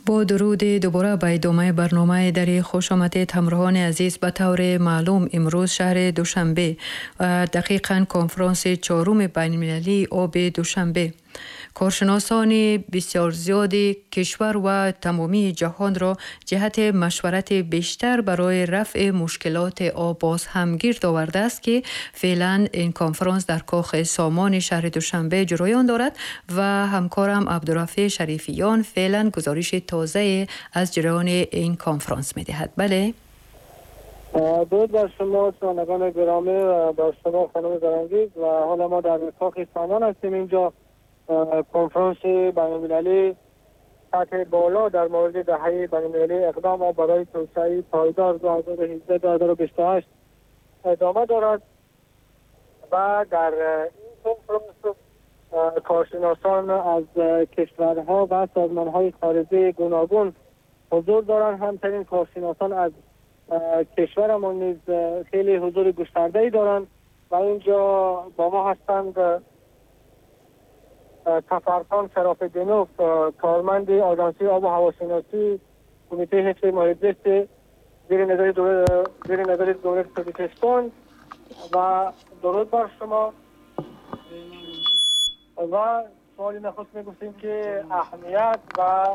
Бо дуруд дубора ба идомаи барномаи Дарӣ хуш омадед, ҳамроҳони азиз. Ба таври маълум, имрӯз шаҳри Душанбе, дақиқан конфронси чоруми байналмилалии оби Душанбе, коршиносони бисёр зиёди кишвар ва тамомии ҷаҳонро ҷиҳати машварати бештар барои рафъи мушкилоти об боз ҳам гирд овардааст, ки феълан ин конфронс дар Кохи Сомони шаҳри Душанбе ҷараён дорад ва ҳамкорам Абдурафеъ Шарифиён феълан гузориши тозае аз ҷараёни ин конфронс медиҳад. Бале. درود بر شما شنوندگان گرامی و بر شما خانم زرنگیز. و حالا ما در کاخ سامان هستیم. اینجا کنفرانس بین‌المللی سطح بالا در مورد دهه بین‌المللی اقدام برای توسعه پایدار 2017-2028 ادامه دارد و در این کنفرانس کارشناسان از کشورها و سازمانهای خارجی گوناگون حضور دارند. همچنین کارشناسان از کشورمان نیز خیلی حضور گسترده‌ای دارند و اینجا با ما هستند سفرخان شراف‌الدینوف، کارمند آژانسی آب و هواشناسی کمیته حفظ محیط زیست زیر نظر دولت تاجیکستان. و درود بر شما. و سوالی نخست میگفتیم که اهمیت و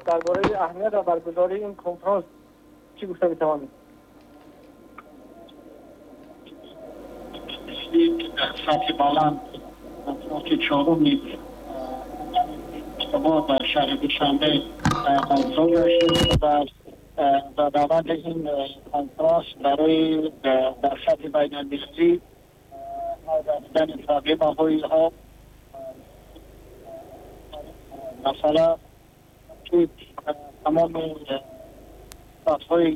درباره اهمیت و برگزاری این کنفرانس چی گفته میتوانید؟ در سطح بلند کنفرانس چهارم ما در شهر دوشنبه برگزار شد و در روند این کنفرانس برای در سطح بین المللی رفتن تغییر های آب، مثلا که تمام سطح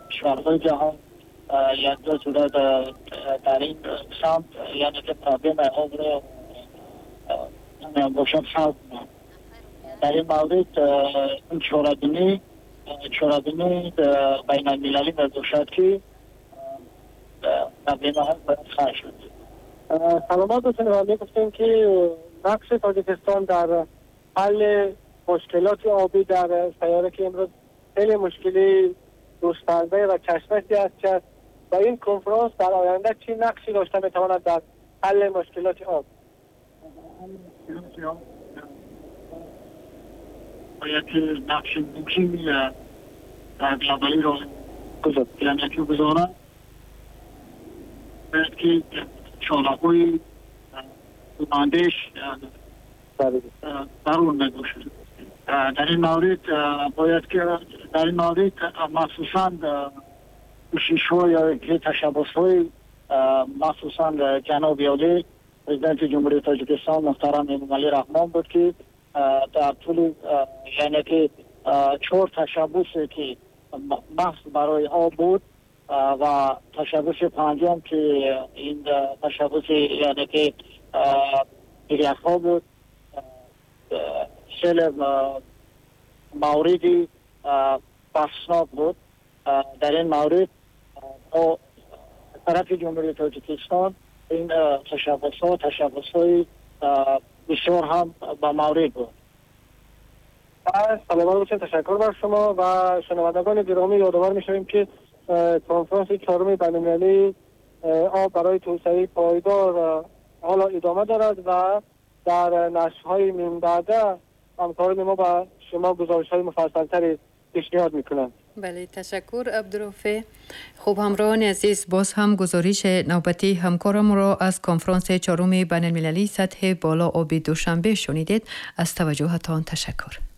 کشورهای جهان یکجا شده در این سمت، یعنی که problem آب را باشد حل کنند. در این مورد این چاره‌بینی بین المللی باشد که problem ها باید حل شد. سلامت باشین. و میگفتیم که نقش تاجیکستان در حل مشکلات آبی در سیاره که امروز خیلی مشکلی گسترده و چشمسی است که و این کنفرانس در آینده چی نقشی داشته میتواند در حل مشکلات آب؟ باید نقش مهمی در گلوبالی را یعنی که گذارد. باید که چاله‌های اندیش ضرور میباشد. در این مورد باید که در این مورد مخصوصا کوشش ها یا که تشبث های مخصوصا جناب عالی پرزیدنت جمهوری تاجیکستان محترم امامعلی رحمان بود که در طول یعنی که چهار تشبث که محض برای آب بود و تشبث پنجم که این تشبث یعنی که ها بود، خیلی موردی بحثناک بود. در این مورد با طرف جمهوری تاجیکستان این تشبث ها تشبث های بسیار هم به مورد بود. سلامت باشین. تشکر بر شما. و شنوندگان گرامی، یادآور میشویم که کنفرانس چهارم بین‌المللی آب برای توسعه پایدار حالا ادامه دارد و در نشرهای من بعده همکاران ما با شما گزارش های مفصلتری پیشنهاد میکنند. بله، تشکر عبدالرافع. خوب همراهان عزیز، باز هم گزارش نوبتی همکارم را از کنفرانس چهارم بین المللی سطح بالا آب دوشنبه شنیدید. از توجهتان تشکر.